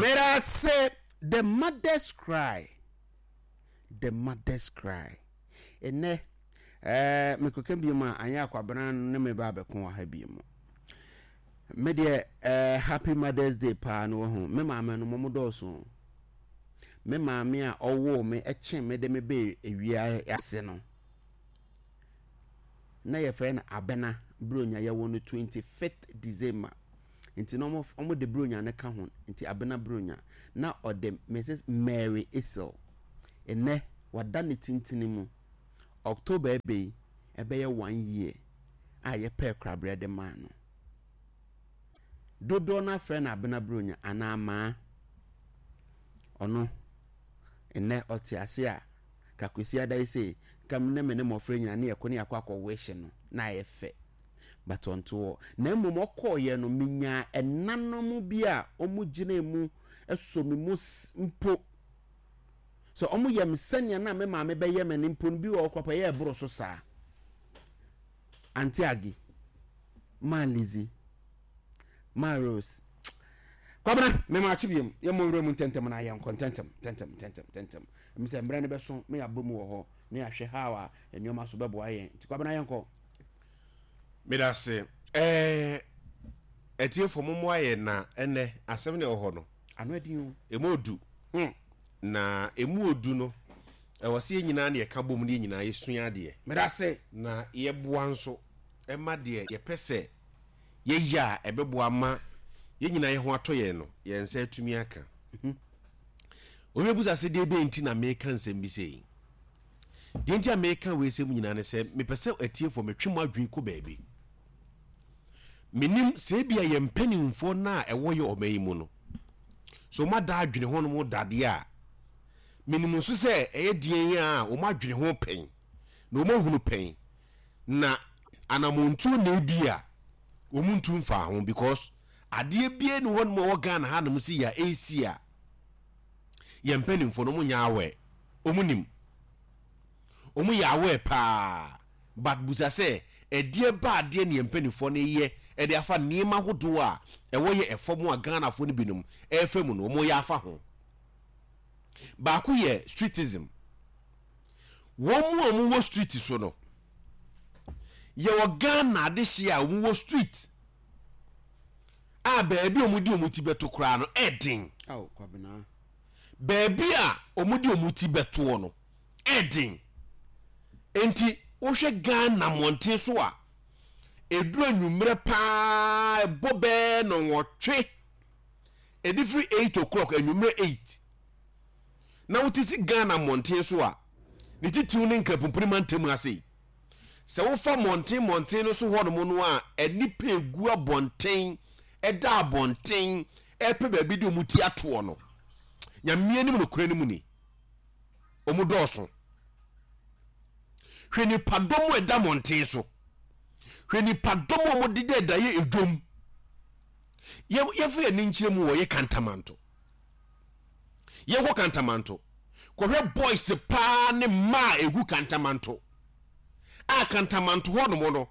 Meda the mother's cry. The mother's cry. Ɛnɛ ɛɛ mekɔka bi mu a anyɛ akwabena ne me ba abɛko wɔ ha bi mu. Me deɛ ɛɛ happy mother's day paa no wɔ ho. Me maame no mo dɔɔso. Me maame a ɔwoo me ɛkye me de me bɛ ewia ase no. Na yɛfrɛ no Abena Buronya yɛwɔ no 25th December. Nti na ɔmo ɔmo de Buronya no ka ho nti Abena Buronya. Na ɔde Mrs Mary Essel. Nnɛ wada ne tintini mu. October ɛbɛ yi ɛbɛyɛ one year a yɛpɛɛ korabrɛ de maa no. Dodoɔ no afrɛ no Abena Buronya anaa Maa. Ɔno nnɛ ɔte ase a ka Kwasiada yi sei nka me ne me ne mmɔfra nyinaa ne yɛkɔ ne yɛakɔ akɔ wish no na ayɛ fɛ. But ɔnte hɔ. Na mmom ɔkɔeɛ no, menyaa ɛnanom bi a wɔgyinaa mu sɔ me mu mpo. Sɛ wɔyɛ me sɛnea na me maame bɛyɛ me no mpo no, bi wɔ hɔ koraa ɛyɛ ɛboro so saa. Auntie Aggie, Ma Lizzie, Ma Rose. Kwabena, mema akye biom. Yɛmmɔ nwura mu ntɛntɛm na yɛnkɔ ntɛntɛm, ntɛntɛm, ntɛntɛm, ntɛntɛm. Ɛmi sɛ mmerɛ no bɛso na yɛabɔ mu wɔ hɔ na yɛahwɛ how a nneɛma so bɛboa yɛn. Nti Kwabena yɛnkɔ. Medase. Ɛɛ atiefo mommoa yɛn na ɛnɛ asɛm na ɛwɔ hɔ no. Ano ɛden o. Emu odu. Hmm. Na emu odu no, ɛwɔ sɛ yɛn nyinaa na yɛka bom na yɛn nyinaa yɛsua adeɛ. Medase. Na yɛboa nso ɛma deɛ yɛpɛ sɛ yɛyɛ a ɛbɛboa ama yɛn nyinaa yɛn ho atɔ yɛn no, yɛn nsa atumi aka. Mhm. Obi bɛbusa sɛ deɛ bɛn nti na meka nsɛm bi sei. Deɛ nti a meka wei sɛm nyinaa ne sɛ mepɛ sɛ atiefoɔ metwe mo adwene kɔ baabi. Menim sɛ ebia yɛn mpanimfoɔ no a ɛwɔ yɛ ɔman yi mu no, so wɔn ada adwene ho nom dadeɛ a, menim nso sɛ ɛyɛ deɛn a wɔn adwene ho pɛn na wɔn ahunu pɛn na anamontuo na ebi a wɔn ntu mfaa ho because adeɛ bie ne hɔ nom a ɛwɔ Ghana hanom si yɛ a ɛresi a yɛn mpanimfoɔ no wɔn nyɛ aware. Ɔmo nim. Ɔmo yɛ aware paa but busa sɛ ɛdeɛ ba adeɛ ne yɛn mpaninfoɔ no yɛ ɛde afa nneɛma ahodoɔ a ɛwɔ yɛ ɛfam a Ghanafoɔ no binom ɛrefa mu no ɔmo yɛ afa ho. Baako yɛ streetism. Wɔn mu a ɔmo wɔ street so no yɛwɔ Ghana adehyeɛ a ɔmo wɔ street a baabi a ɔmo de ɔmo ti bɛto koraa no ɛden. Ao Kwabena. Baabi a wɔde wɔn ti bɛtoɔ no, ɛden. Enti wohwɛ Ghana mmɔnten so a, ɛduru anwummerɛ paa ɛbɔ bɛɛ nnɔnwɔtwe, ɛde firi 8 o'clock, anwummerɛ 8, na wote si Ghana mmɔnten so a, ne titiriw ne Nkrapumpuni mantam ha sei. Sɛ wofa mmɔnten mmɔnten no so hɔnom no a, nnipa egu abɔnten, ɛda abɔnten, ɛrepɛ baabi de wɔn ti atoɔ no, Nyame anim nokorɛ no mu ni, wɔn dɔɔso. Hwɛ nipadɔm a ɛda mmɔnten so. Hwɛ nipadɔm a wɔdeda ɛda yɛ edwom. Yɛmfa yɛn ani nkyerɛ mu wɔ yɛ Kantamanto. Yɛnkɔ Kantamanto. Kɔhwɛ boys paa ne mmaa a ɛgu Kantamanto. A Kantamanto hɔ nom no,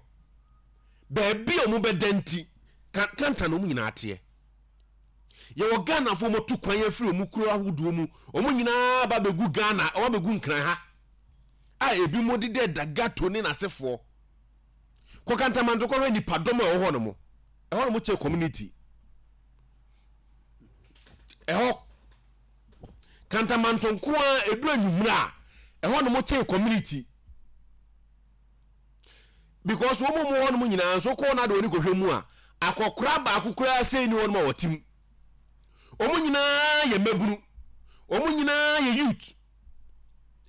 baabi a wɔbɛda nti, Kanta na wɔn nyinaa teɛ. Yɛwɔ Ghanafoɔ wɔn tu kwan afiri wɔn kuro ahodoɔ mu, wɔn nyinaa ba bɛgu Ghana, wɔn abɛgu Nkran ha, a ebi mo deda da gato ne n'asefoɔ. Kɔ Kantamanto kɔhwɛ nipadɔm a ɛwɔ hɔ nom. Ɛhɔ nom kyɛ community. Ɛhɔ Kantamanto nko ara ɛduru anwummerɛ a ɛhɔ nom kyɛn community. Because wɔn mu hɔ nom nyinaa nso kɔɔ no ade wɔn kɔhwɛ mu a akɔkora baako koraa sei ne hɔ nom a wɔte mu. Wɔn nyinaa yɛ mmabunu. Wɔn nyinaa yɛ youth.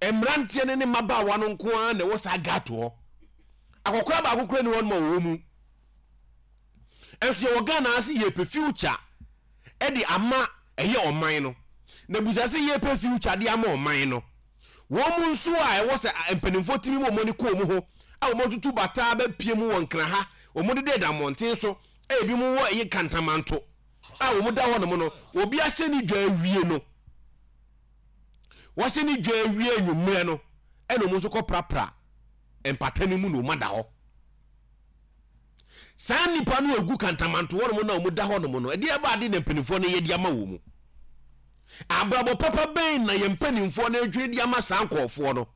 Mmeranteɛ ne ne mmabaawa no nko ara na ɛwɔ saa gato hɔ. Akɔkora baako koraa ni hɔ nom a wɔwɔ mu. Ɛnso yɛwɔ Ghana ase yɛpɛ future de ama ɛyɛ ɔman no. Na busa sɛ yɛpɛ future de ama ɔman no. Wɔn mu nso a ɛwɔ sɛ mpanimfoɔ tumi ma wɔn ani kɔ wɔn ho a wɔn atutu bataa bɛpie mu wɔ Nkran ha, wɔn deda mmɔnten so a ebi mu wɔ ɛyɛ Kantamanto a wɔn da hɔ nom no, obi ahyɛ ne dwa awie no, wɔahyɛ ne dwa awie anwummerɛ no, ɛna wɔn nso kɔ prapra mpata no mu na wɔn ada hɔ. Saa nnipa no a ɛgu Kantamanto hɔ nom na wɔn da hɔ nom no, ɛdeɛ ɛba ade na mpanimfoɔ no yɛ de ama wɔn mu. Abrabɔ papa bɛn na yɛn mpanimfoɔ no redwene de ama saa nkurɔfoɔ no?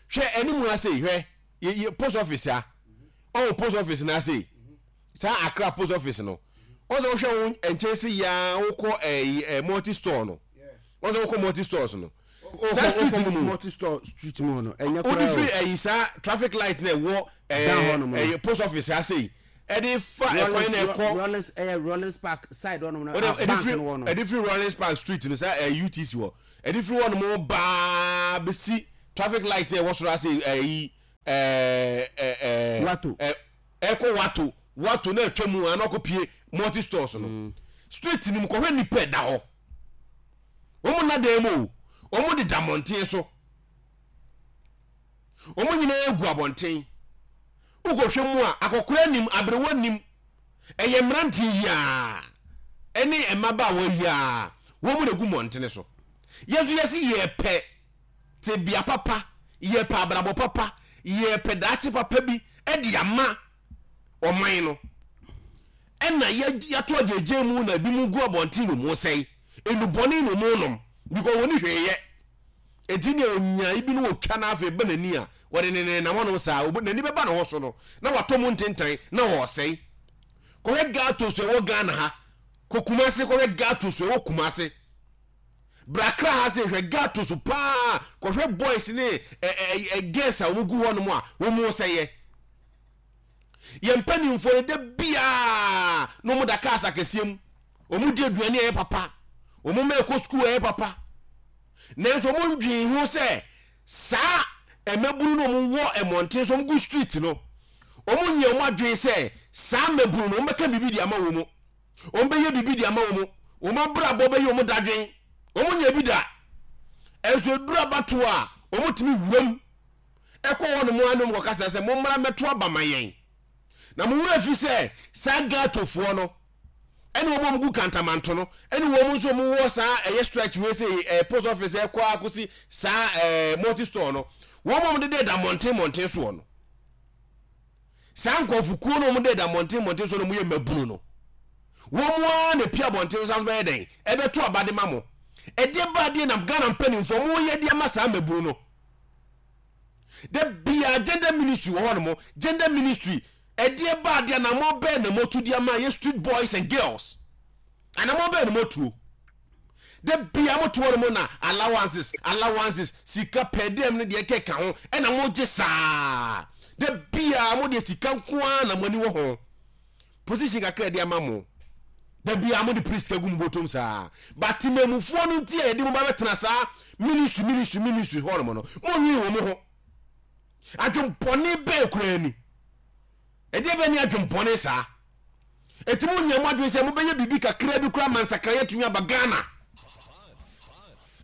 Hwɛ anim ha sei, hwɛ yɛ yɛ post office ha. Ɔwɔ post office no ha sei. Saa Accra post office no. Wɔn sɛ wohwɛ wo nkyɛn se yaa wokɔ ɛyi ɛ multi store no. Wɔn sɛ wokɔ multi stores no. Saa street no mu. Multi store street mu hɔ no. Ɛnyɛ Wode koraa firi o. ɛyi saa traffic light na ɛwɔ Down ɛɛ hɔ nom no. ɛyɛ post office ha sei. Ɛde fa ɛkwan na ɛkɔ. Rollins ɛyɛ Rollins Park side hɔ nom no. Wode A ɛde bank firi no wɔ no. ɛde firi Rollins Park street no saa ɛɛ UTC hɔ. Ɛde firi hɔ nom baa bɛsi traffic light na ɛwɔ soro ha sei ɛyi ɛɛ ɛɛ Wato. ɛɛ ɛkɔ wato wato na atwa mu a na ɔkɔ pie multi stores no street no mu kɔhwɛ nipa ɛda hɔ wɔn nna dan mu o wɔn deda mmɔnten so wɔn nyinaa gu abɔnten wokɔhwɛ mu a akɔkora nim aberewa nim ɛyɛ mmeranteɛ yi a ɛne mmabaawa yi a wɔn na gu mmɔntene so yɛn nso yɛsi yɛpɛ tebea papa, yɛpɛ abrabɔ papa, yɛpɛ daakye papa bi de ama ɔman no. Ɛna yɛato agyegye mu na ebi mu gu abɔnten na ɔmu sɛe. Nnubɔne na ɔmu nom because wɔn hwee yɛ. Eti nea onyaa bi no wɔtwa no afei ba n'ani a wɔde ne nenam hɔnom saa n'ani bɛba ne ho so no na watɔ mu ntentan na ɔresɛe. Kɔhwɛ gatos ɛwɔ Ghana ha, kɔ Kumase kɔhwɛ gatos ɛwɔ Kumase. Bra Accra ha sei hwɛ ghetto so paa kɔhwɛ boys ne ɛ ɛ ɛ girls a wɔn gu hɔ nom a wɔn sɛyɛ. Yɛn mpanimfoɔ no da biara na wɔn da cars akɛseɛ mu. Wɔn di aduane a ɛyɛ papa. Wɔn mma ɛkɔ sukuu a ɛyɛ papa. Nanso wɔn ndwen ho sɛ saa mmabunu no wɔn wɔ mmɔnten so wɔn gu street no. Wɔn nyɛ wɔn adwene sɛ saa mmabunu no wɔn bɛka biribi de ama wɔn. Wɔbɛyɛ biribi de ama wɔn. Wɔn abrabɔ bɛyɛ wɔn dadwen. Wɔnyɛ bi da. Ɛnso ɛduru abatoɔ a, wɔtumi wuram ɛkɔ hɔ nom a ne wɔn kɔkasa sɛ mommra mmɛto aba ma yɛn. Na mo werɛ fi sɛ saa Gatofoɔ no ɛne wɔn a wɔgu kantamanto no ɛne wɔn nso wɔn wɔ saa ɛyɛ stretch wei sɛ ɛɛ post office ɛkɔ akɔsi saa ɛɛ multi store no wɔn a wɔdeda da mmɔnten mmɔnten soɔ no. Saa nkurɔfokuo no a wɔdeda mmɔnten mmɔnten so no wɔyɛ mmabunu no, wɔn ara na ɛpie abɔnten so san bɛyɛ dɛn? Ɛbɛto aba de ma mo. Ɛdeɛ ba adeɛ na Ghana mpanimfoɔ wɔyɛ de ama saa mmabunu no. Da bia gender ministry wɔ hɔ nom, gender ministry ɛdeɛ ba adeɛ anamɔ bɛɛ na motu de ama yɛ street boys and girls. Anamɔ bɛɛ na motuo. Da bia mo toɔ no mo na allowances allowances sika per diem ne deɛ ɛkeka ho ɛna mo gye saa da bia mo deɛ sika nko ara na mo ani wɔ ho position kakra ɛde ama mo da bia mo de piri sika gu mo bɔtɔm saa but temamufoɔ no nti a yɛde mo ba bɛtena saa ministry ministry ministry hɔ nom no mo nwene wɔ mo ho adwempɔne bɛn koraa ni Ɛdeɛ bɛn ne adwempɔne saa? Enti mo nyɛ mo adwene sɛ mobɛyɛ biribi kakraa bi koraa ma nsakraeɛ atumi aba Ghana?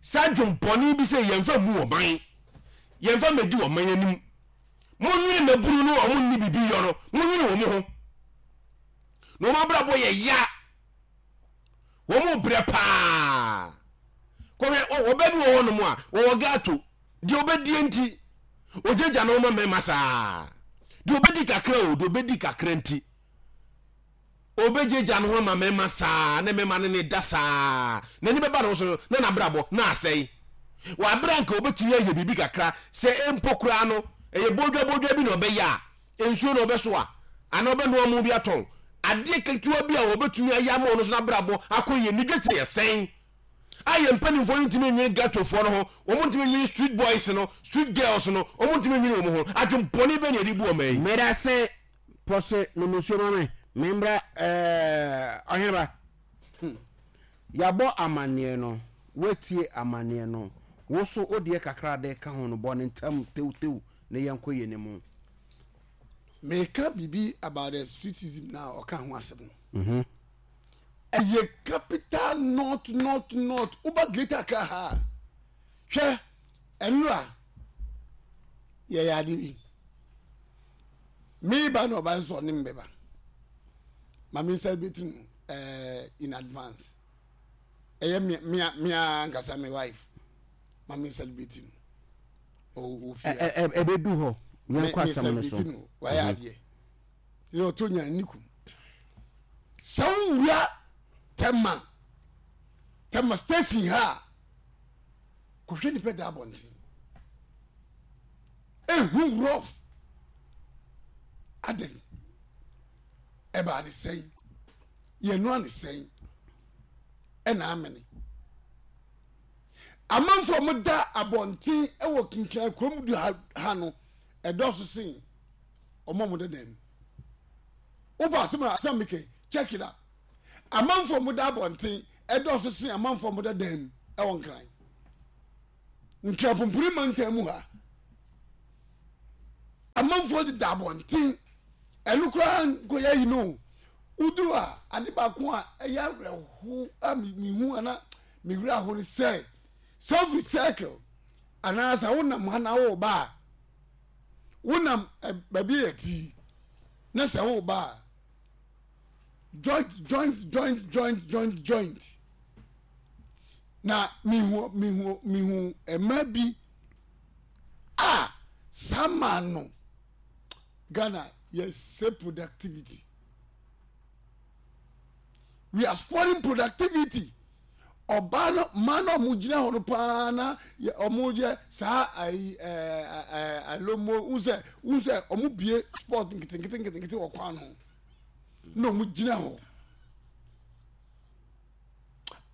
Saa adwempɔne bi sɛ yɛmfa mmu ɔman, yɛmfa mmɛdi ɔman anim. Monwene mmabunu no a wɔn nni biribi yɔ no, monwene wɔn ho. Na wɔn abrabɔ yɛ ya. Wɔn brɛ paa. Kɔhwɛ, ɔbaa bi wɔ hɔnom a, wɔwɔ gato. Deɛ ɔbɛdie nti, ɔgyagya ne ho ma mmarima saa. Deɛ ɔbɛdi kakra o, deɛ ɔbɛdi kakra nti, ɔbɛgyagya ne ho ama mmarima saa, ne mmarima ne ne da saa. N'ani bɛba ne ho so no, na n'abrabɔ na asɛe. Wɔ abere a nka ɔbɛtumi ayɛ biribi kakra, sɛ mpo koraa no, ɛyɛ bodwa bodwa bi na ɔbɛyɛ a, nsuo na ɔbɛsoa, anaa ɔbɛnoa mo bi atɔn. Adeɛ ketewa bi a ɔbɛtumi ayɛ ama ɔno nso n'abrabɔ akɔ yie, ne dwetire yɛ sɛn? A yɛn mpanimfoɔ no ntumi nwene ghettofoɔ no ho, wɔn ntumi nwene street boys no, street girls no, wɔn ntumi nwene wɔn ho. Adwempɔne bɛn na yɛde bu ɔman yi? Medase pɔse nom nsuo ma me membra eh, ɔheneba Yɛabɔ amanneɛ no, woatie amanneɛ no, wo so wo deɛ kakra de ka ho no bɔ no ntɛm tewtew na yɛnkɔ yɛn anim. Meka biribi about the streetism na ɔka ho asɛm no. Ɛyɛ capital north north north woba Greater Accra ha a hwɛ ɛnora yɛyɛ ade bi meba na ɔba nso ɔne mbɛba ma me celebrate no eh, in advance ɛyɛ mea mea mea ankasa me wife ma me celebrate no ɔwɔ fie ha ɛbɛdu hɔ yɛnkɔ asɛm no so me celebrate no wayɛ adeɛ Sɛ ɔtɔ nya ne kum. Sɛ wowura Tema, Tema station ha a, kɔhwɛ nipa da abɔnten. Ehu rough. Adɛn? Ɛbaa ne sɛn? Yɛnoa ne sɛn? Ɛna amene. Amanfoɔ a wɔda abɔnten wɔ Kinkran kurom du ha no, ɛdɔɔso sen wɔn a wɔda dan mu. Wopɛ asɛm a asɛm mekɛ check it up. Amanfoɔ a wɔda abɔnten ɛdɔɔso sen amanfoɔ a wɔda dan mu ɛwɔ Nkran. Nkran pumpuni mantam mu ha. Amanfoɔ deda abɔnten. Ɛno koraa nkɔyɛ yi no. Woduru a ade baako a ɛyɛ awerɛho a mehu ana me werɛ aho ne sɛ sɛ wofiri circle anaasɛ wonam ha na woreba a wonam baabi yɛ ti na sɛ woreba a joint joint joint joint joint joint na mehu mehu mehu mmaa bi a saa maa no Ghana yɛsɛ productivity we are spoiling productivity ɔbaa no mmaa no a wɔn gyina hɔ no paa na wɔn yɛ saa ayi ɛɛ ɛɛ alomo n sɛ n sɛ wɔn bie sport nketenkete nketenkete wɔ kwan ho na wɔn gyina hɔ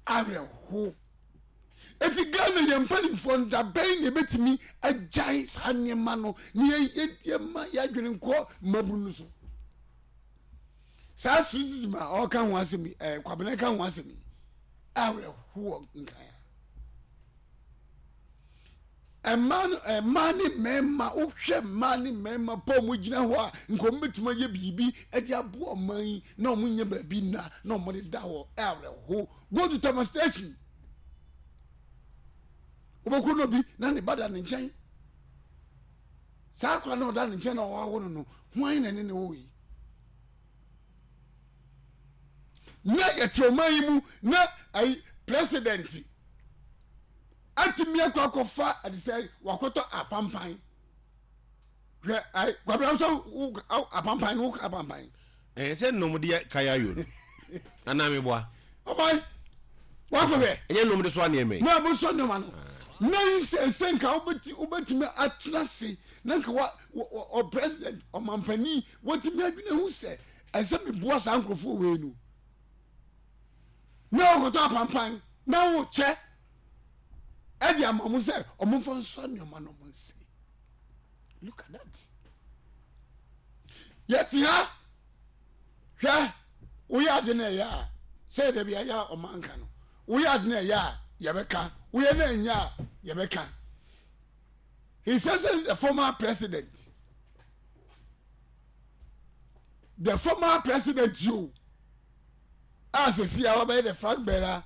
awerɛho eti Ghana yɛn mpanimfoɔ no dabɛn na ebetumi agyae saa nneɛma no na yɛn yɛn yɛn ma yɛn adwene nkɔ mmabunu no so. Saa streetism a ɔreka ho asɛm yi ɛɛ Kwabena ka ho asɛm yi awerɛhoɔ nkran a mmaa no mmaa ne mmarima wohwɛ mmaa ne mmarima pa wɔn gyina hɔ a nka wɔn bɛtumi ayɛ biribi de aboa ɔman yi na wɔn nyɛ baabi nna na wɔn de da hɔ awerɛho go to Tema station wobɛkɔ no bi na ne ba da ne nkyɛn saa akora na ɔda ne nkyɛn na ɔwawo no no hwan na ne ne wɔ yi na yɛte ɔman yi mu na ayi president atumi akɔ akɔfa ɛde sɛ wakɔtɔ apampan hwɛ ayi kwabena nso wo apampan no woka apampan. Ɛɛ sɛ nnɔm de kaya yo no anaa meboa. Ɔman wakɔhwɛ. Ɛnyɛ nnɔm de soa nneɛma yi. Na mo sɔ nneɛma no na yi sɛ sɛ nka wobɛti wobɛtumi atena se na nka wa ɔ president ɔmampanin watumi adwene ho sɛ ɛsɛ meboa saa nkurɔfoɔ wei no na wɔkɔtɔ apampan na wokyɛ ɛde ama mo sɛ ɔmomfa nsɔ nneɛma no ɔmo nsɛ look at that yɛte ha hwɛ woyɛ ade no ɛyɛ a sɛ yɛda bi ayɛ a ɔma nka no woyɛ ade no ɛyɛ a yɛbɛka woyɛ no ɛnyɛ a yɛbɛka His Excellency the former president the former president yo a sɛsi a wabɛyɛ the flag bearer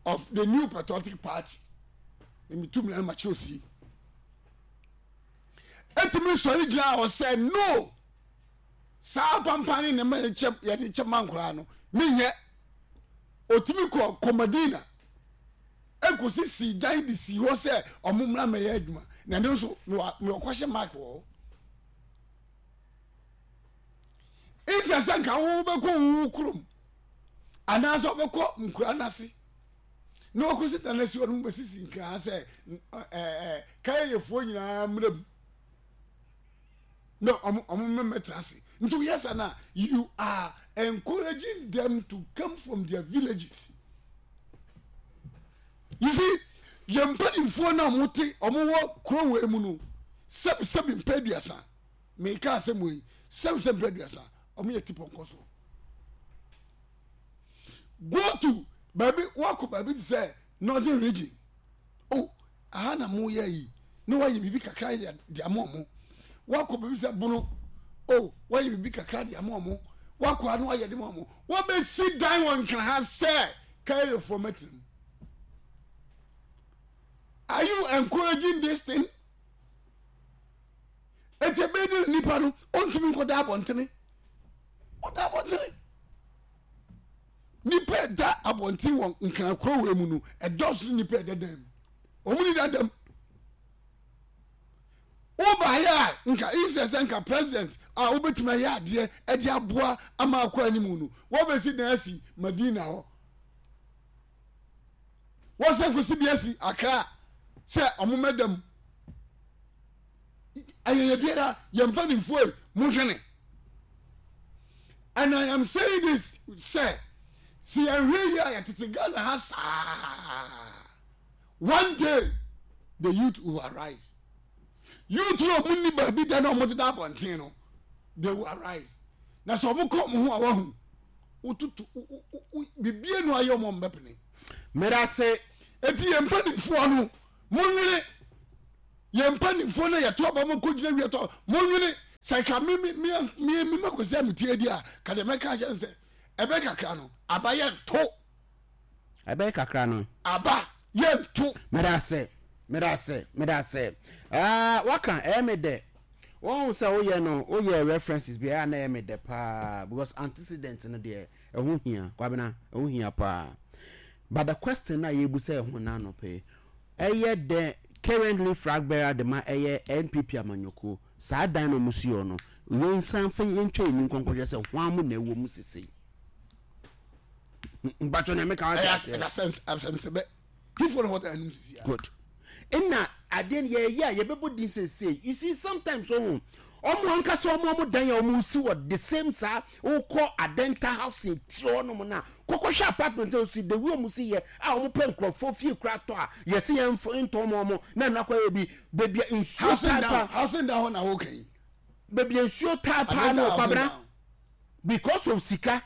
of the new patriotic party na metu mmira no makyerɛ osie ɛtumi sɔre gyina hɔ sɛ no saa pampan ne nneɛma yɛde kyɛ yɛde kyɛ ma nkoraa no menyɛ otumi kɔ kɔmadina Ɛkɔsisii dan de sii hɔ sɛ ɔmo mmra mmɛyɛ adwuma na ɛno nso mewɔ question mark wɔ hɔ. Nsɛ sɛ nka wobɛkɔ wo kurom anaasɛ wobɛkɔ nkura no ase na wakɔsi dan asi hɔ no mobɛsisi nkraa sɛ kaeyefoɔ nyinaa mmra mu na ɔmo ɔmo mmɛtena ase nti woyɛ sa na you are encouraging them to come from their villages you see yɛn mpanimfoɔ no a wɔn te wɔn wɔ kuro wei mu no sɛbi sɛbi mpɛ aduasa meka asɛm wei sɛbi sɛbi mpɛ aduasa wɔn yɛ ti pɔnkɔ so go to baabi wakɔ baabi te sɛ northern region oh aha na mo yɛ yi na wayɛ biribi kakra yɛ de ama ɔmo wakɔ baabi sɛ bono oh wayɛ biribi kakra de ama ɔmo wakɔ ano ayɛ de ma ɔmo wɔbɛsi dan wɔ nkran ha sɛ kaerefoɔ mɛtena mu are you encouraging this thing eti ebe di nipa no ontumi nkɔda abɔntene ɔda abɔntene nipa ɛda abɔnten wɔ nkran kuro wɔ mu no ɛdɔɔso nipa ɛda dan mu wɔn ni dadam wobaayɛ a nka insɛ sɛ nka president a wobɛtumi ayɛ adeɛ ɛde aboa ama akɔ anim no wɔbɛsi dan asi madina hɔ. Wɔsɛ nkosi bi asi Accra sɛ ɔmo mɛda mu. Ayɛyɛ biara yɛn mpanimfoɔ yi mo dwene. And I am saying this sɛ si yɛn hwɛ yi a yɛtete Ghana ha saa. One day the youth will arise. Youth no ɔmo ni baabi da na ɔmo deda abɔnten no they will arise. Na sɛ ɔmo kɔ ɔmo ho a wahu wotutu bibie no ayɛ ɔmo ɔmo bɛpene. Medase. Eti yɛn mpanimfoɔ no mo nwene yɛn mpanimfoɔ no yɛto aba mo kɔ gyina wia tɔ mo nwene sɛ ka me me me me me ma kwasi a me tie di a ka deɛ mɛka akyerɛ no sɛ ɛbɛ kakra no aba yɛ nto. Ɛbɛyɛ kakra no. Aba yɛ nto. Medase medase medase ah waka ɛyɛ me dɛ wɔn sɛ woyɛ no woyɛ references bi ɛyɛ na ɛyɛ me dɛ paa because antecedent no deɛ ɛho hia kwabena ɛho hia paa but the question na yɛbu sɛ ɛho na anɔpɛ yi ɛyɛ dɛ currently flag bearer de ma ɛyɛ NPP amanyɔkuo saa dan na ɔmo si hɔ no yɛnsan fa yɛntwa yɛn ni nkɔnkɔhwɛ sɛ hwan mo na ɛwɔ mu sesei. Mpatsɔ nea meka wate aseɛ. Ɛyɛ asɛmsɛbɛ. Hifo na wɔda anum sisi a. Good. Ɛna adeɛ no yɛyɛ a yɛbɛbɔ din sesei. You see sometimes ohun ɔmo ankasa ɔmo ɔmo dan a ɔmo si wɔ the same saa wokɔ Adenta housing ti hɔ nom na kɔkɔhwɛ apartment a osi the way ɔmo si yɛ a ɔmo pɛ nkorɔfoɔ fie kura tɔ a yɛsi yɛn ntɔn mo ɔmo na ɛno akɔyɛ bi beebi a nsuo taa paa. Housing down hɔ na wɔka yi. Beebi a nsuo taa paa no kwabena. Because of sika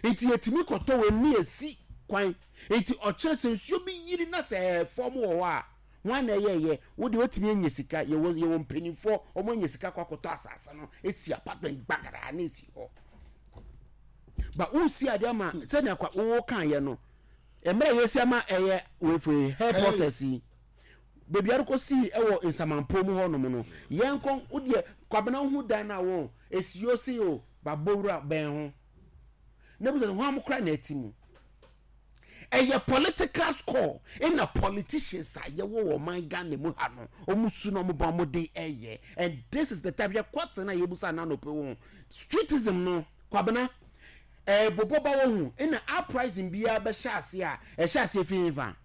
nti yɛtumi kɔtɔ wei ne yɛsi kwan nti ɔkyerɛ sɛ nsuo bi yiri na sɛ ɛɛ fɔm wɔ hɔ a hwan na ɛyɛɛyɛ wo deɛ watumi anya sika yɛwɔ yɛwɔ mpanimfoɔ wɔn anya sika kɔ akɔtɔ asase no esi apartment gbagaraa na esi hɔ ba wosi adeɛ ama sɛnea kwa wo kan yɛ no mmerɛ yɛsi ama ɛyɛ wefue headquarters yi Baabi a ɛrekɔsii wɔ Nsamanpɔw mu hɔnom no, yɛnkɔ, wo deɛ, Kwabena wohu dan no a wɔn, esi o sei o, ba bɔ wura bɛn ho. Na bisa sɛ, hwan koraa na ɛte mu? Ɛyɛ political score ɛna politicians a yɛwɔ wɔ ɔman Ghana mu ha no, wɔn su na wɔn ba wɔn de ɛyɛ. And this is the time, yɛ question a yɛbusa na anɔpɛ wɔn. Streetism no, Kwabena, ɛɛbobɔ ba wɔ ho, ɛna uprising biara bɛhyɛ ase a, ɛhyɛ ase fi nfa.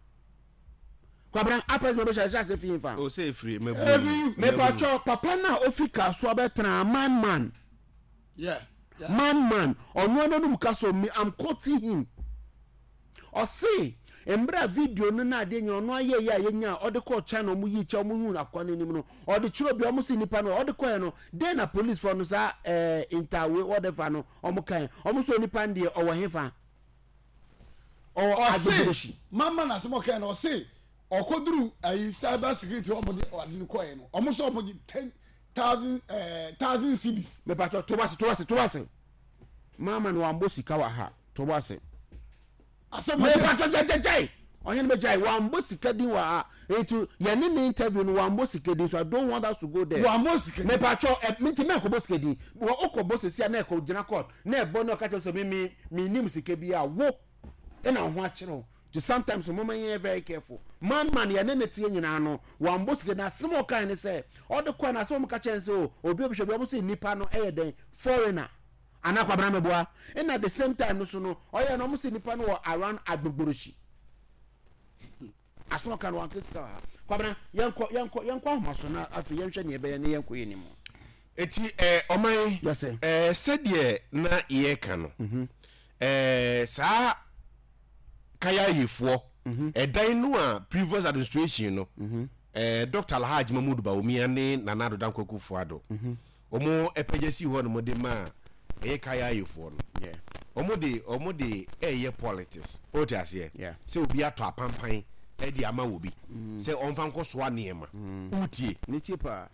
Kwabena uprising bɛhyɛ ɛhyɛ ase fi nfa. O sɛ efiri mɛbu mu. Mepatwɔ papa no a ofi Kasoa bɛtena man man. Yeah. Yeah. Man man ɔno ananum ka so me I'm quoting him. Ɔse mmerɛ a video no na adeɛ nyina ɔno ayɛ yɛ a yɛnya a ɔde kɔɔ China ɔmo yii kyɛ ɔmo huu akoa no anim no ɔde kyerɛ obi ɔmo se nipa no ɔde kɔɛ no dɛn na police foɔ no saa ɛɛ interwe whatever no ɔmo kae ɔmo so nipa no deɛ ɔwɔ hefa. Ɔwɔ Ɔse Agbogbloshie. mama na asɛm ɔkae no ɔse ɔkɔduru ayi cyber security ɔmo de ade no kɔɛ no ɔmo sɛ ɔmo gye 10,000 ɛɛ thousand cedis. Mepatɔ to ase to ase to ase. Mama no wambɔ sika wɔ ha to ase. Asɛm ɔde Mepatɔ gyagyagyai ɔhene bɛgyae wambɔ sika din wɔ ha nti yɛne ne interview no wambɔ sika din so I don't want us to go there. Wambɔ sika din. Mepatɔ ɛ nti mɛnkɔbɔ sika din wɔ wokɔbɔ sisi a na ɛkɔ gyina court na ɛbɔ na ɔka kyerɛ sɛ me me mennim sika bi a wo ɛna wo ho akyerɛ wo nti sometimes moma yɛnyɛ very careful man man yɛne ne teɛ nyinaa no wambɔ sika na asɛm a ɔkae ne sɛ ɔde kɔɛ na asɛm a ɔmo ka kyerɛ ne sɛ o obi obihwɛ bi ɔmo sɛ nipa no ɛyɛ dɛn foreigner anaa kwabena meboa ɛna the same time no so no ɔyɛ no ɔmo sɛ nipa no wɔ around Agbogborohyi Asɛm a ɔka no wanka sika wɔ ha. Kwabena, yɛnkɔ, yɛnkɔ, yɛnkɔ ahoma so na afei yɛnhwɛ nea ɛbɛyɛ na yɛnkɔ yɛn anim. Eti eh, ɔman, Yes, sir. eh, sɛdeɛ na yɛreka no, eh, saa kayayefoɔ, ɛdan no a previous administration no, eh, Dr. Alhaji Mahmood Bawumia ne Nana Addo Dankwa Akufo-Addo, Wɔn pagya sii hɔ nom de maa ɛyɛ kayayefoɔ no. Wɔn de wɔn de ɛyɛ politics. O te aseɛ? Sɛ obi atɔ apampan ɛde ama obi mm. sɛ ɔnfa nkɔ soa nneɛma. Mm. Wotie? Ne tie paa.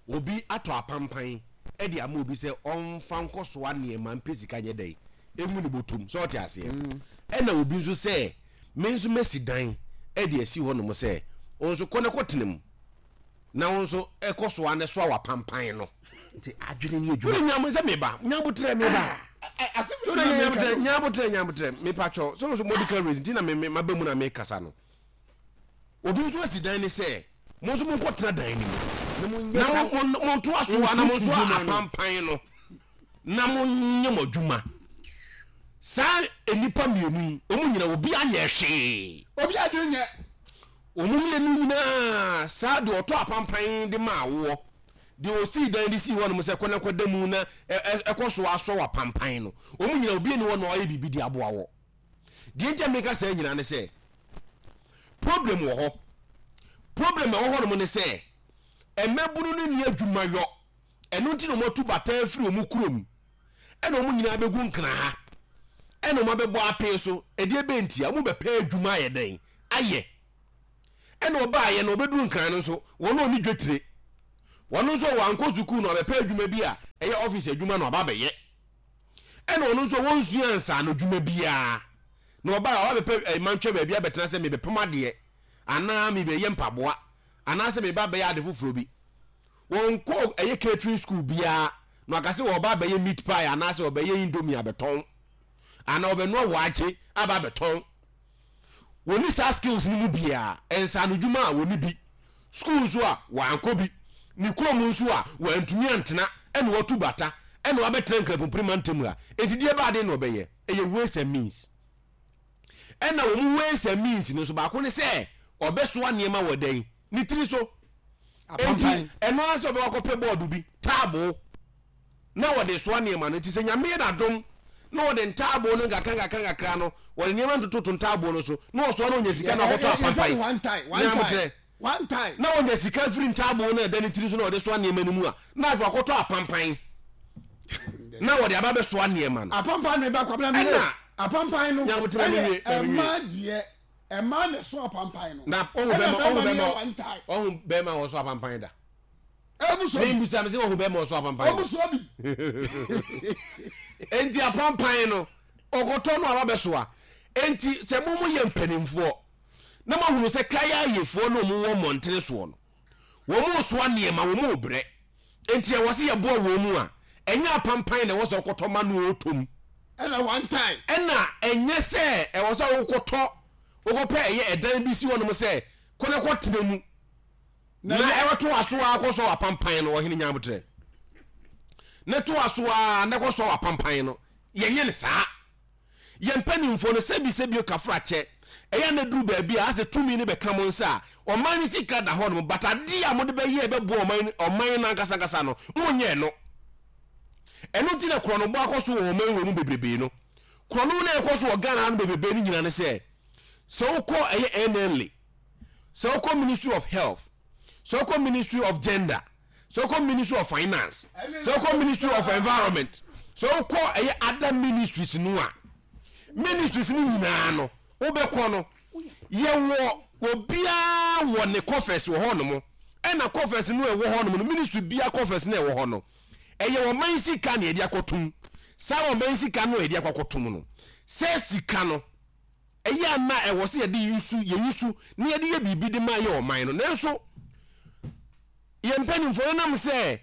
Obi atɔ apampan ɛde ama obi sɛ ɔnfa nkɔ soa nneɛma mpɛ sika nyɛ dɛn emu ne bɔtɔm sɛ ɔte aseɛ. Mm. Ɛna obi nso sɛ me nso mɛsi dan ɛde asi hɔ nom sɛ wɔn nso kɔ ne kɔ tena mu. Na wo nso kɔ so ara na soa w'apampan no. Nti adwene ne adwuma. Wode nyam sɛ meba nyabotrɛ meba. Wode nyabotrɛ nyabotrɛ nyabotrɛ mepa kyɛw sɛ nso medical reason nti na me maba mu na mekasa no. Obi nso asi dan ne sɛ mo nso monkɔ tena dan no mu na mo montoa so na mo nso apampan no na monyɛ mo adwuma. Saa nnipa mmienu yi, wɔn nyinaa obiara nyɛɛ hwee. Obiara adwene nyɛ. Wɔn mmienu nyinaa, saa deɛ ɔtɔ apampan de maa woɔ, deɛ ɔsii dan de sii hɔnom sɛ kɔ na kɔda mu na ɛkɔ so asɔ w'apampan no, wɔn nyinaa obiara nni hɔ na ɔayɛ biribi de aboa wɔ. Deɛ nti a meka saa nyinaa ne sɛ, problem wɔ hɔ. Problem a ɛwɔ hɔnom ne sɛ, mmabunu no nni adwuma yɔ. Ɛno nti na wɔatu bata afiri wɔn kurom, ɛna wɔn nyinaa bɛgu nkra ha, ɛna wɔn abɛbɔ apee so. Ɛdeɛ bɛn ntia? Wɔn bɛpɛ adwuma ayɛ dɛn? Ayɛ. Ɛna ɔbaayɛ no, ɔbɛduru nkran no nso, wɔn a ɔni dwetire. Wɔn nso wɔankɔ sukuu na ɔbɛpɛ adwuma bi a ɛyɛ ɔfisi adwuma na ɔba abɛyɛ. Ɛna ɔno nso wɔnsua nsaano adwuma biara. Na ɔbaa ɔba bɛpɛ eh, mantwɛ baabi abɛtena sɛ mebɛpam adeɛ anaa mebɛyɛ mpaboa anaasɛ meba abɛyɛ ade foforɔ bi. Wɔnkɔ ɛyɛ catering school biara na waka sɛ wɔba abɛyɛ meat pie anaasɛ wɔbɛyɛ indomie abɛtɔn anaa wɔbɛnoa waakye aba abɛtɔn. Wɔnni saa skills no mu biara. Nsaanodwuma a wɔnni bi. School nso a wɔankɔ bi. Ne kurom nso a wɔantumi antena ɛna wɔatu bata ɛna wɔabɛtena Nkrapompire mantam ha. Enti deɛ ɛbaa den na wɔbɛyɛ? Ɛyɛ ways and means. Ɛna wɔn ways and means no nso baako ne sɛ ɔbɛsoa nneɛma wɔ dɛn? Ne tiri so. Enti ɛno ara sɛ ɔbɛkɔ akɔpɛ bɔɔdo bi, taaboo, na wɔde soa nneɛma no. Nti sɛ Nyame yɛ n'adom na wɔde ntaaboo no nkakra nkakra nkakra no, wɔde nneɛma no tototo ntaaboo no so, na ɔsoa na ɔnya sika na ɔkɔtɔ apampan. Nyamekyerɛ. Na ɔnya sika firi ntaaboo no a ɛda ne tiri so na ɔde soa nneɛma no mu a, na afei wakɔtɔ apampan na wɔde aba abɛsoa nneɛma no. Apampan no ɛba kwabena mi Ɛna apampan no Nyamekyerɛ me wie, ɛyɛ me wie. ɛmaa deɛ ɛmaa na ɛso apampan no. Na ɔhu Ɛna bɛma ɔhu bɛrima no yɛ bɛma one time. ɔhu bɛma ɔso apampan da. Ɛmu sɔ bi. Mebisa me sɛ ɔhu bɛma ɔso apampan Ɔmu da. sɔ bi. Enti apampan no ɔkɔtɔ no aba bɛsoa. Enti sɛ mo mo yɛ mpanimfoɔ na moahunu sɛ kayayefoɔ no wɔn wɔ mmɔntene soɔ no wɔn resoa nneɛma wɔn rebrɛ enti ɛwɔ sɛ yɛboa wɔn mu a ɛnyɛ apampan na ɛwɔ sɛ ɔkɔtɔ ma no ɔtɔ mu. Ɛna one time. Ɛna ɛnyɛ sɛ ɛwɔ sɛ wokɔtɔ wokɔpɛ ɛyɛ ɛdan bi si hɔnom sɛ kɔ na kɔtena mu na ɛbɛtoa so ara kɔsɔ w'apampan no, ɔhene nyabotrɛ ne toa so ara na kɔsɔ w'apampan no. Yɛnyɛ no saa. Yɛn mpanimfoɔ no sɛbisɛbi kafrakyɛ ɛyɛ na duru baabi a asɛ tumi no bɛka mo nsa a ɔman no sika da hɔ nom, but adeɛ a mode bɛyɛ ɛbɛboa ɔman ɔman no ankasa ankasa no monyɛɛ no. Ɛno nti na korɔnobɔ akɔ so wɔ ɔman wɔ mu bebrebe no. Korɔno na ɛkɔ so wɔ Ghana ha no bebrebe no nyina ne sɛ sɛ wokɔ ɛyɛ NLA, sɛ wokɔ Ministry of Health, sɛ wokɔ Ministry of Gender, sɛ wokɔ Ministry of Finance, sɛ wokɔ Ministry of Environment, sɛ wokɔ ɛyɛ other ministries no a, ministries no nyinaa no wobɛkɔ no yɛwɔ obiara wɔ ne coffers wɔ hɔ nom, ɛna coffers no ɛwɔ hɔ nom no ministry biara coffers no ɛwɔ hɔ no ɛyɛ ɔman sika na yɛde akɔtom. Saa ɔman sika no a yɛde akɔ akɔtom no, sɛ sika no ɛyɛ a na ɛwɔ sɛ yɛde yusu yɛyi so na yɛde yɛ biribi de ma yɛ ɔman no. Nanso yɛn mpanimfoɔ no nam sɛ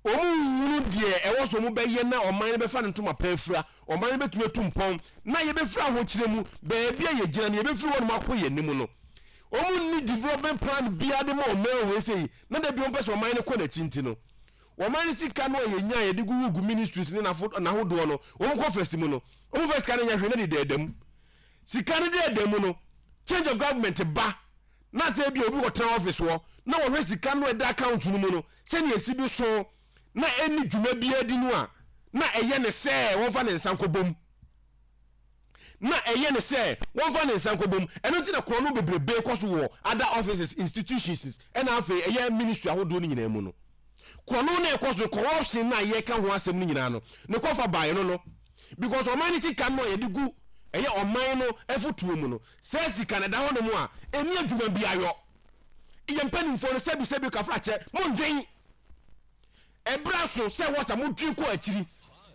wɔn nhunu deɛ ɛwɔ so wɔn bɛyɛ na ɔman no bɛfa ne ntoma pa afira, ɔman no bɛtumi atu mpɔn na yɛbɛfiri ahokyerɛ mu baabi a yɛgyina no yɛbɛfiri hɔ nom akɔ yɛn anim no, wɔn nni development plan biara de ma ɔman wei sɛ na da bi wɔn pɛ sɛ ɔman no kɔ n'akyi nti no Wɔn ani sika no a yɛnya a yɛde gugu ministries ne n'ahodoɔ no, wɔn kɔ fɛsi mu no, wɔn fa sika no nyɛ hwee na de dɛɛda mu. Sika no dɛɛda mu no, change of government ba na sɛ ebi obi kɔtena office hɔ na wɔhwɛ sika no a ɛda account no mu no sɛnea esi bi so na ɛnni dwuma biara di no a, na ɛyɛ ne sɛ wɔmfa ne nsa nkɔbɔ mu. Na ɛyɛ no sɛ wɔmfa ne nsa nkɔbɔ mu. Ɛno nti na korɔno bebrebe kɔ so wɔ other offices, institutions ɛna afei ɛyɛ ministry ahodoɔ no nyinaa mu no. Korɔno no a ɛkɔ so, corruption no a yɛka ho asɛm no nyinaa no, ne kɔfa baeɛ no no. Because ɔman no sika no a yɛde gu ɛyɛ ɔman no afotuo mu no, saa sika no ɛda hɔ nom a, ɛnni adwuma biara yɔ. Yɛn mpanimfoɔ no sɛbi sɛbi kafrakyɛ, mondwen. Ɛberɛ aso sɛ ɛwɔ sɛ modwen kɔ akyiri.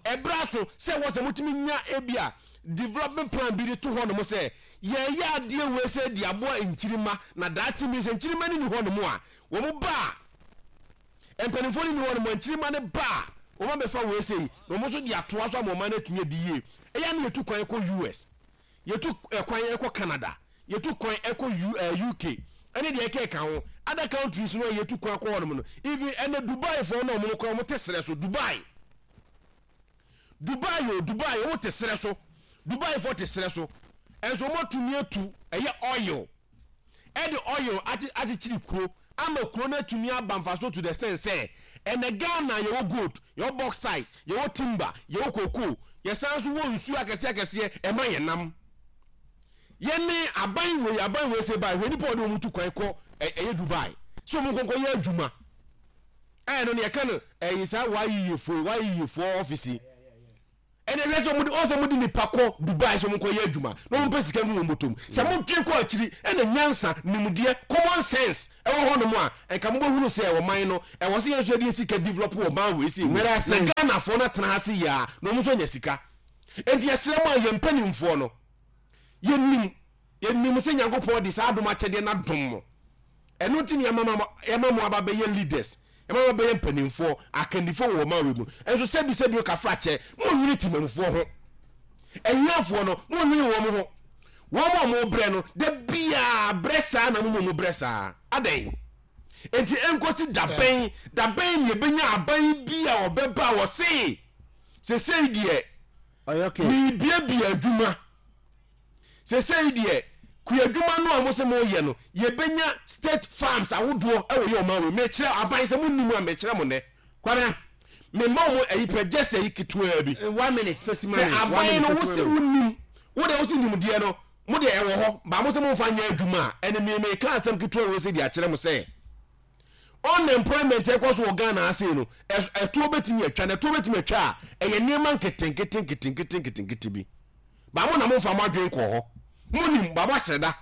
Ɛberɛ aso sɛ ɛwɔ sɛ motumi nya ebia development plan bi de to hɔ nom sɛ yɛreyɛ adeɛ wei sɛ de aboa nkyirimma na daakye bi sɛ nkyirimma no nni hɔ nom a, wɔn ba a, mpanimfoɔ no nni hɔ nom a, nkyirimma no ba a, wɔn abɛfa wei sei na wɔn nso de atoa so ama ɔman no atumi adi yie. Ɛyɛ a na yɛtu kwan kɔ US. Yɛtu kwan kɔ Canada, yɛtu kwan kɔ U eh, UK, ɛne deɛ ɛkeka ho. Other countries no a yɛtu kwan kɔ hɔnom no, even ɛnɛ Dubai foɔ no wɔn koraa wɔn te serɛ so. Dubai, Dubai o, Dubai wɔn te serɛ so. Dubaifoɔ te serɛ so, nso wɔatumi atu ɛyɛ oil, ɛde oil akye akyekyere kuro ama kuro no atumi aba mfasoɔ to the extent sɛ ɛnɛ Ghana yɛwɔ gold, yɛwɔ bauxite, yɛwɔ timber, yɛwɔ cocoa, yɛsan nso wɔ nsuo akɛseɛ akɛseɛ ɛma yɛn nam. Yɛne aban wei aban wei sɛ bae hwɛ nipa a ɔde wɔn tu kwan kɔ ɛyɛ Dubai sɛ wɔn nkɔnkɔ yɛ adwuma. Ɛno no yɛka no ɛyi saa wayiyefoɔ wayiyefoɔ ɔfisi yi. Ɛnna hwɛ sɛ wɔde ɔsɛ wɔde nipa kɔ Dubai sɛ wɔnkɔ yɛ adwuma na wɔmpɛ sika ngu wɔn bɔtɔm. Sɛ modwen kɔ akyiri ɛna nyansa, nimdeɛ, common sense ɛwɔ hɔnom a, nka mobɛhunu sɛ ɔman no ɛwɔ sɛ yɛn nso yɛde yɛn sika develop ɔman wei sei mu na Ghanafoɔ no atena ase yie a na wɔn nso anya sika. Enti yɛsrɛ mo a yɛn mpanimfoɔ no yɛnim yɛnim sɛ Nyankopɔn de saa adom akyɛdeɛ no adom mo. Ɛno nti na yɛama mo yɛama mo aba bɛyɛ leaders, yɛama mo abɛyɛ mpanimfoɔ, akandifoɔ wɔ ɔman wei mu. Nso sɛbi sɛbi o kafrakyɛ, monnwene temamufoɔ ho. Ahiafoɔ no, monnwene wɔn ho. Wɔn a wɔbrɛ no, da biara brɛ saa na mo mmom mobrɛ saa. Adɛn? Enti ɛnkɔsi da bɛn, da bɛn na yɛbɛnya aban bi a ɔbɛba a ɔse, sesei deɛ, merebiabia adwuma. Sesei deɛ kuadwuma no a mose moyɛ no yɛbɛnya state farms ahodoɔ wɔ yɛ ɔman wei mekyerɛ aban sɛ monnim a mekyerɛ mo nnɛ. Kwabena. Mema wo mo ayi pɛ just ayi ketewaa bi. One minute fesi ma me. Sɛ aban no wose wonim wo deɛ wose nimdeɛ no mo deɛ ɛwɔ hɔ ba mo sɛ momfa nyɛ adwuma a ɛne me meka asɛm ketewa wei sɛ de akyerɛ mo sɛ unemployment ɛkɔ so wɔ Ghana ha sei no ɛtoɔ bɛtumi atwa na ɛtoɔ bɛtumi atwa a ɛyɛ nneɛma nketenkete nketenkete nketenkete bi. Ba mo na momfa mo adwene nkɔɔ hɔ. Monim, ba moahyɛ da.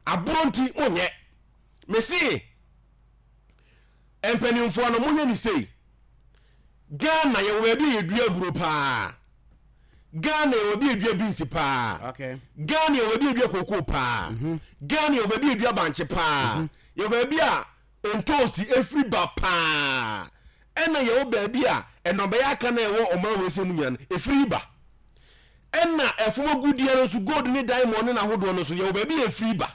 Aborɔ nti, monyɛ. Mese, mpanimfoɔ no, monyɛ ne sei. Ghana, yɛwɔ baabi a yɛdua aburo paa. Ghana, yɛwɔ baabi a yɛdua beans paa. Okay. Ghana, yɛwɔ baabi a yɛdua kookoo paa. Mm -hmm. Ghana, yɛwɔ baabi a yɛdua bankye paa. Mm -hmm. Yɛwɔ baabi a ntoosi efiri ba paa. Ɛna yɛwɔ baabi a nnɔbaeɛ aka na ɛwɔ ɔman wei sɛ mu nyinaa no efiri ba. Ɛna ɛfam agudeɛ no nso, gold ne diamond ne n'ahodoɔ no nso, yɛwɔ baabi a ɛfiri ba.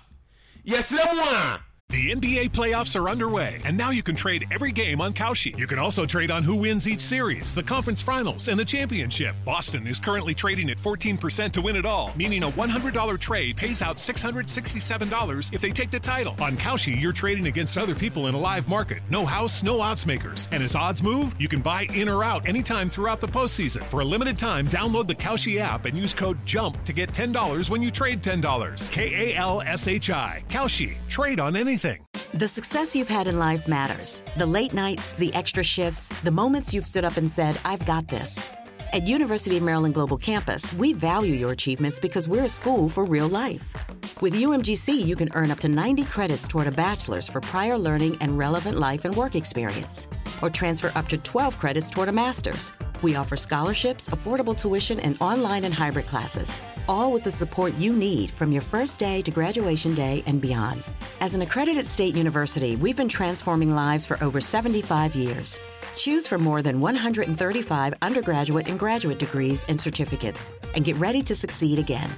Yɛsrɛ mo a. The NBA playoffs are underway, and now you can trade every game on Kalshi. You can also trade on who wins each series, the conference finals, and the championship. Boston is currently trading at 14% to win it all, meaning a $100 trade pays out $667 if they take the title. On Kalshi, you're trading against other people in a live market. No house, no odds makers. And as odds move, you can buy in or out anytime throughout the postseason. For a limited time, download the Kalshi app and use code JUMP to get $10 when you trade $10. K A L S H I. Kalshi. Trade on anything. The success you've had in life matters. The late nights, the extra shifts, the moments you've stood up and said, I've got this. At University of Maryland Global Campus, we value your achievements because we're a school for real life. With UMGC, you can earn up to 90 credits toward a bachelor's for prior learning and relevant life and work experience, or transfer up to 12 credits toward a master's. We offer scholarships, affordable tuition, and online and hybrid classes, all with the support you need from your first day to graduation day and beyond. As an accredited state university, we've been transforming lives for over 75 years. Choose from more than 135 undergraduate and graduate degrees and certificates, and get ready to succeed again.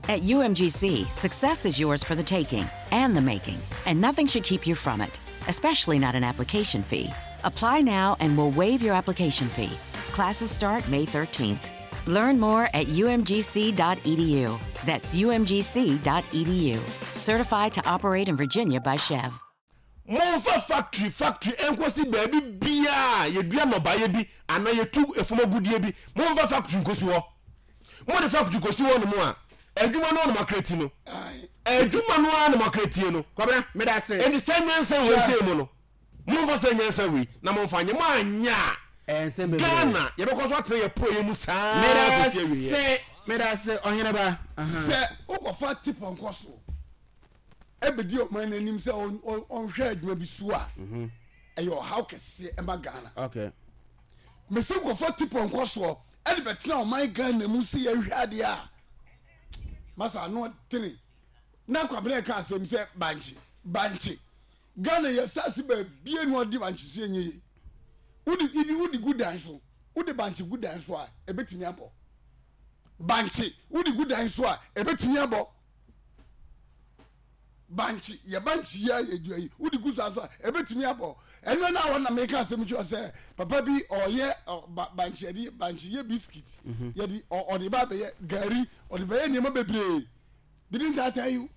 At UMGC, success is yours for the taking and the making, and nothing should keep you from it, especially not an application fee. Apply now and we'll waive your application fee. Classes start May 13th. Learn more at umgc.edu. That's umgc.edu. Certified to operate in Virginia by Chev. Momfa factory factory nkosi baabi biara a yɛdua nnɔbaeɛ bi anaa yɛtu fam agudeɛ bi. Momfa factory nkosi hɔ. Mode factory kɔsi hɔ nom a, adwuma no ara na moakreti no. Adwuma no ara na moakretie no. Kwabena, meda ase. Enti saa nyansa wei sei mu no, momfa saa nyansa wei na momfa nyɛ. Moanyɛ a, Ghana yɛbɛkɔ so atena yɛn porɔeɛ mu saa ara kɔsi awieɛ. Meda ase, meda ase, Ɔheneba. Sɛ wokɔfa tipɔnkɔ so bɛdi ɔman no anim sɛ ɔnhwɛ adwuma bi so a, mhm. ɛyɛ ɔhaw kɛseɛ ɛma Ghana. Okay. Mese wokɔfa tipɔnkɔ soɔ ɛde bɛtena ɔman Ghana mu sɛ yɛnhwɛ adeɛ a, masa ano ɔdene. Na Kwabena ɛka asɛm sɛ bankye, bankye. Ghana yɛ asase baabie no ɔde bankye so ɛnyɛ yie. Wode ibi wode gu dan so, wode bankye gu dan so a, ɛbɛtumi abɔ. Bankye wode gu dan so a, ɛbɛtumi abɔ. Bankye, yɛ bankye yi a yɛdua yi, wode gu saa nso a, ɛbɛtumi abɔ. Ɛno na wɔn na meka asɛm kyerɛ sɛ papa bi ɔyɛ bankye, yɛde bankye yɛ biscuit, mhm. yɛde ɔde ba bɛyɛ gari, ɔde bɛyɛ nneɛma bebree. Didn't I tell you?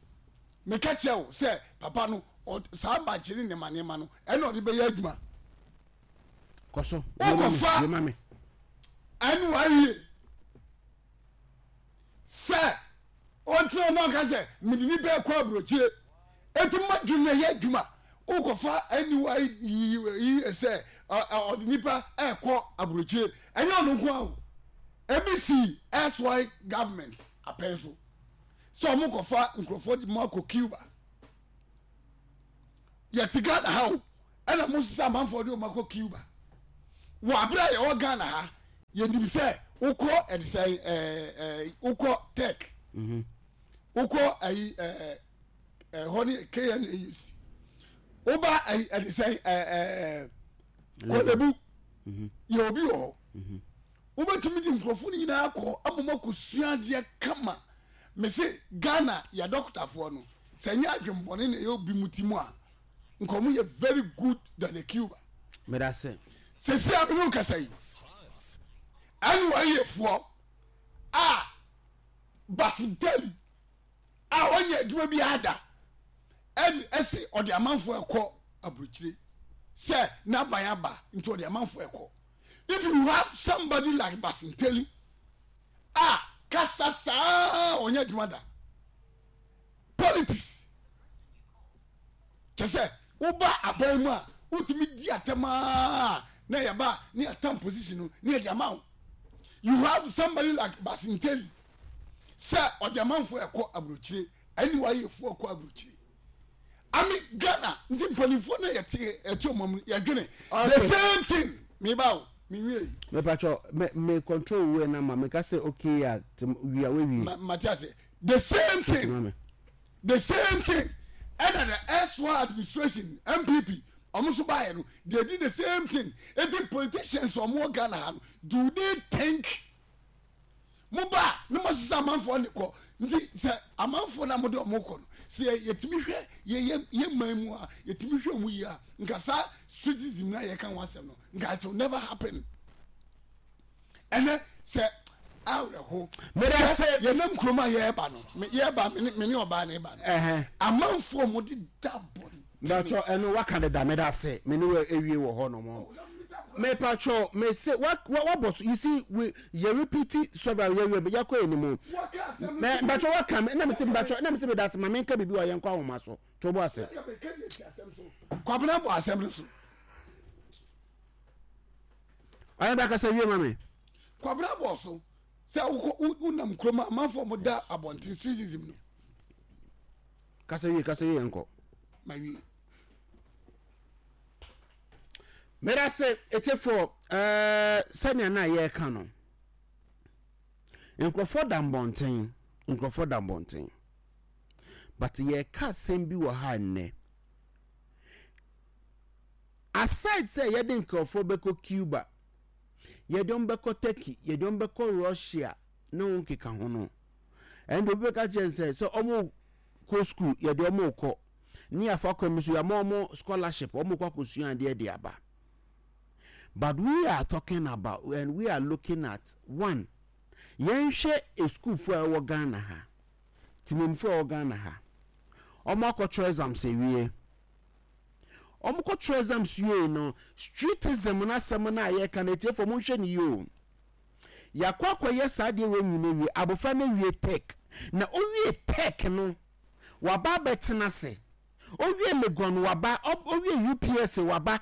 Meka kyerɛ wo sɛ papa no saa bankye ne nneɛma nneɛma no ɛna ɔde bɛyɛ adwuma. Kɔ so. Wokɔfa ɛne wayie. Sɛ ɔntena na ɔka sɛ mede nipa ɛkɔ aburokyire eti ma dwene yɛ adwuma wokɔfa aniwa yi sɛ ɔde nipa ɛkɔ aburokyire ɛnyɛ ɔno nko aho ebi si SY government apɛn so sɛ ɔmo kɔfa nkurɔfoɔ de mo akɔ Cuba yɛte Ghana ha o ɛna mo sisa amanfoɔ de ɔmo akɔ Cuba wɔ abere a yɛwɔ Ghana ha yɛnim sɛ wokɔ ɛde sɛ ɛɛ ɛɛ wokɔ tech mhm. wokɔ ɛyi ɛɛ ɛhɔ ne KNUST woba ɛyi ɛde sɛ ɛɛ ɛɛ Korle-Bu mhm. yɛ obi wɔ hɔ mhm. wobɛtumi de nkurɔfoɔ no nyinaa kɔ ama mo akɔsua adeɛ kama mese Ghana yɛ dɔkotafoɔ no sɛ nyɛ adwembɔne na ɛyɛ obi mu ti mu a nka ɔmo yɛ very good than a Cuba. Medase. Sɛsi a mene wo kasa yi NYA foɔ a Basintali a ɔnyɛ adwuma bi ada ɛsi ɔde amanfoɔ ɛkɔ aburokyire sɛ n'aban aba nti ɔde amanfoɔ ɛkɔ if you have somebody like Basintali a kasa saa ɔnyɛ adwuma da politics kyɛ sɛ woba aban mu a wotumi di atɛm aa na yɛba ne yɛtam position no ne yɛde ama wo you have somebody like Basinteli sɛ ɔde amanfoɔ ɛkɔ aburokyire ɛne wayɛfoɔ ɛkɔ aburokyire ami Ghana nti mpanimfoɔ no yɛte ɛte ɔmo mu yɛdwene the same thing meba o menwie yi. mepatwɔ me me control wo na ma meka sɛ okay a wia wawie. mate ase the same thing the same thing ɛna the erstwhile administration npp ɔmo nso baayɛ no they did the same thing eti politicians ɔmo wɔ Ghana ha no do they think mo ba ne mo sisa amanfoɔ ne kɔ nti sɛ amanfoɔ na mo de ɔmo kɔ no sɛ yɛtumi hwɛ yɛ yɛ yɛ man mu a yɛtumi hwɛ ɔmo yie a nka saa streetism na yɛka ho asɛm no nka it will never happen. Ɛnɛ sɛ awerɛho. Meda se. Yɛnam kurom a yɛreba no, yɛreba me ne ɔbaa no reba no. Amanfoɔ mo de da bɔ. Mepatwɔ ɛno waka deda meda se me ne wo awie wɔ hɔ nom. Mepatwɔ me se wa wabɔ so you see we yɛ repeat several yɛ wie yɛkɔ anim. Mepatwɔ waka me na me se mepatwɔ na me se meda se ma menka biribi wɔ yɛnkɔ ahoma so to bo ase. Kwabena bɔ asɛm no so. Ɔyɛ bra kasa wie ma me. Kwabena bɔ so sɛ wokɔ wonam kurom a amanfoɔ mo da abɔnten streetism no. Kasa wie kasa wie yɛn kɔ. Ma wie. Meda se etiefoɔ ɛɛ sɛnea na yɛreka no nkurɔfoɔ da mbɔnten nkurɔfoɔ da mbɔnten but yɛreka asɛm bi wɔ ha nnɛ. Aside sɛ yɛde nkurɔfoɔ bɛkɔ Cuba, yɛde wɔn bɛkɔ Turkey, yɛde wɔn bɛkɔ Russia ne ho nkeka ho no, ɛnde obi bɛka kyerɛ no sɛ sɛ wɔn kɔ school yɛde wɔn rekɔ ne yɛafa kwan bi so yɛama wɔn scholarship wɔn kɔ akɔsua adeɛ de aba. But we are talking about and we are looking at one yɛnhwɛ esukuufoɔ a ɛwɔ Ghana ha, temammufoɔ a ɛwɔ Ghana ha, wɔn akɔtwerɛ exams awie. Wɔkɔtwerɛ exams wiei no, streetism no asɛm no a yɛreka no, atiefoɔ monhwɛ no yie o. Yɛakɔ akɔyɛ saa adeɛ wei nyina wie, abɔfra no awie tech, na ɔwie tech no, waba abɛtena ase. Ɔwie Legon waba, ɔwie UPSA waba.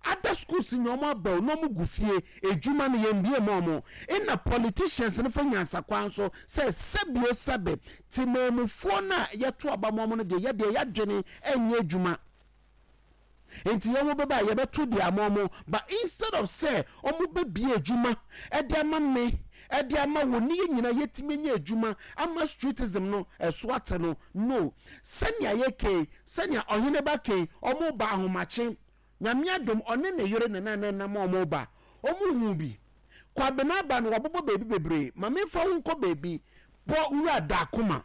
Other schools nyɛ wɔn aba o, na wɔn gu fie, edwuma no yɛn bie ma wɔn. Ena politicians no fa nyansakwan so sɛ sɛbi o sɛbe, temanmufoɔ no a yɛto aba ma wɔn no deɛ, yɛdeɛ yadwene ɛnyɛ adwuma. Nti yɛn wɔn bɛba a yɛbɛto deɛ ama wɔn, but instead of sɛ wɔn bɛbie adwuma ɛde ama me, ɛde ama wo, ne yɛn nyinaa yɛtumi anya adwuma ama streetism no ɛso ate no, no. Sɛnea yɛkei, Sɛnea ɔhene ba kei, ɔmo ba ahomakye. Nyame adom, ɔne ne yere na na nam a ɔmo ba. Ɔmo huu bi. Kwabena aba no, wabobɔ baabi bebree. Ma memfa wo nkɔ baabi. Bɔ Wura Daakoma.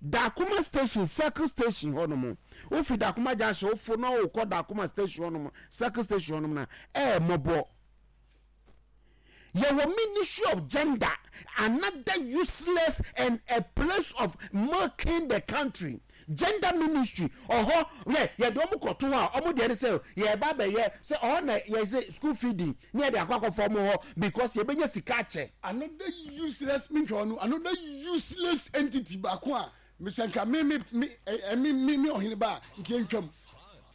Dakoma station, Circle station hɔ nom, wofi Dakoma junction wofo na wokɔ Dakoma station hɔ nom, Circle station hɔ nom na ɛyɛ mmɔbɔ. Yɛwɔ ministry of gender, another useless and a place of milking the country. Gender ministry, ɔhɔ yɛ yɛde wɔn kɔto hɔ a, wɔn deɛ ne sɛ yɛreba abɛyɛ sɛ ɔhɔ na yɛsɛ school feeding ne yɛde akɔ akɔfa wɔn hɔ because yɛbɛnya sika akyɛ. Another useless me nhwɛ ɔno another useless entity baako a mesɛ nka me me me ɛ me me me ɔhene ba a nka ntwam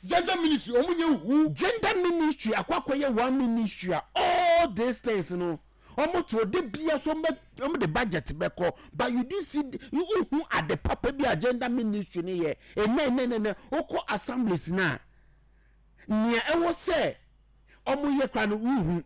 gender ministry wɔn nyɛ hu. Gender ministry akɔ akɔyɛ one ministry a all these things no wɔn to de bia so wɔn bɛ wɔn de budget bɛkɔ but you do see you hu ade papa bi a gender ministry no yɛ ɛnɛ ɛnɛ ɛnɛ wokɔ assemblies na nea ɛwɔ sɛ wɔn yɛ kora no wohu.